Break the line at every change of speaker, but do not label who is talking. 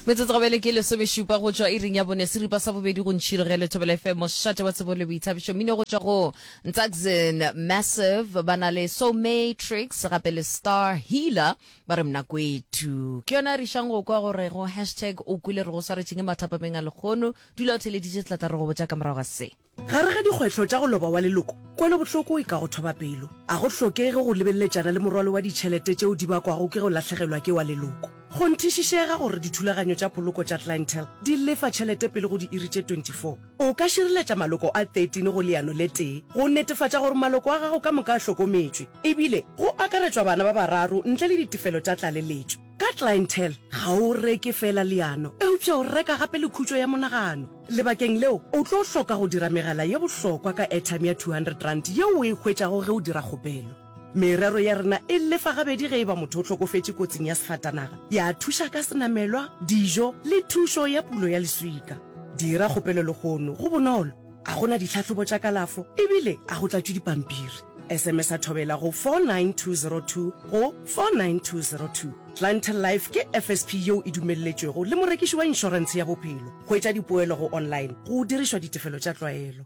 Metsotso gabele ke lesomešupa go tšwa iring ya bone seripa sa bobedi go ntšhirogele Thobela FM mošate wa tsebo le boithabišo mmino go tšwa go Ntsakzin Massive ba na le So Matrix gape le Star Healer ba re mnakwethu ke yona re išang go kwa gore go hashtag o kwele re go swaretšeng mathapameng a lekgono dula o theleditše tlatla re go botša ka morago ga se.
Gare ga dikgwehlo tša go loba wa leloko, kwelobohloko e ka go thoba pelo. A go hlokege go lebeleletšana le morwalo wa ditšhelete tšeo di bakwago ke go lahlegelwa ke wa leloko. Kgonthišišega gore dithulaganyo tša poloko tša Clientele di lefa tšhelete pele go diiri tše 24. O ka šireletša maloko a 13 go leano le tee go netefatša gore maloko a gago ka moka a hlokometšwe, ebile go akaretšwa bana ba bararo ntle le ditefelo tša tlaleletšo. Ka Clientele, ga o reke feela leano, eupša o reka gape le khutšo ya monagano. Lebakeng leo, o tlo hloka go dira megala ye bohlokwa ka airtime ya R200 yeo o e hwetšago ge o dira kgopelo. Merero ya rena e lefa gabedi ge e ba motho o hlokofetše kotsing ya sefatanaga, ya thuša ka senamelwa, dijo le thušo ya pulo ya leswika. Dira kgopelo lehono, go bonolo, a go na ditlhahlobo tša kalafo ebile a go tlatšwe dipampiri. SMS-a Thobela go 49202 go 49202. Clientele Life ke FSP yeo e dumelletšwego le morekiši wa inšorentshe ya bophelo. Hwetša dipoelo go online go dirišwa ditefelo tša tlwaelo.